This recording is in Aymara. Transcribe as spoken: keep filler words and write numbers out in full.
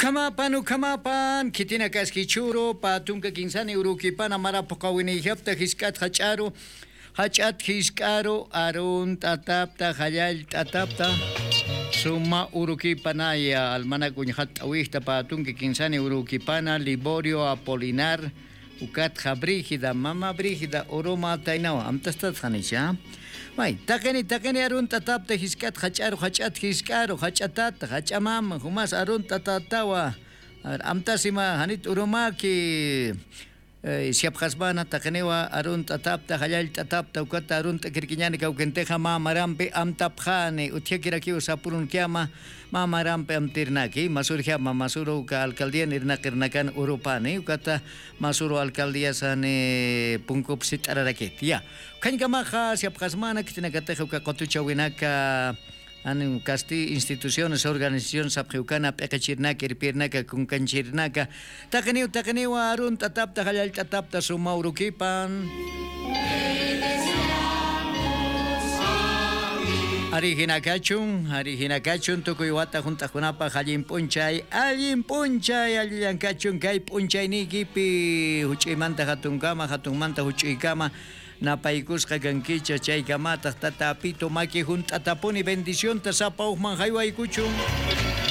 Ukhamapan, ukhamapan, khitinakaskichhüru, pä tunka kinsani urukipana mara phuqhawinïjapta jisk'at jach'aru, jach'at jisk'aru, arunt'atapta, jallallt'atapta, suma urukipanaya, almanak uñjatt'awixta pä tunka kinsani urukipana, Liborio Apolinar, ukatxa Brígida, mama Brígida, uruma taynawa, amtastatxanicha. May, taqini, taqini arunt'atapta jisk'at jach'aru, jach'at jisk'aru, jach'atat, jach'amam, jumas arunt'atatawa. A ver, amtasima, janit urumaki, eh, siyapxasmana, taqiniwa arunt'atapta, jallallt'atapta, ukata arunt'akirkiñani kawkintixa mä marampi amtapxani, utjakirakiw sapurunkiama, mä marampi amtirnaki, masurjama, masuru uka alcaldian irnaqirnakan urupani, ukata masuru alcaldiasani punkup sit'ararakit. Ya. Ukhañkamaxa siyapxasmana, khitinakatixa uka qutuchawinaka, an kasti instituciones, organizaciones sapxiwkana, p'iqichirnaka, irpirnaka, kunkanchirnaka, taqiniw, taqiniwa arunt'atapta, jallallt'atapta, suma urukipan. Ari jinakachun, ari jinakachun, tukuy wata junt'aqkunapaq allin p'unchay, allin p'unchay, allillankachun kay p'unchayniykipi, juch'uymanta jatunkama, jatunmanta juch'uykama, napaykusqa kankicha, chaykamataq Tata Apitu maki junt'atapuni bendicionta sapa ujman jaywaykuchun.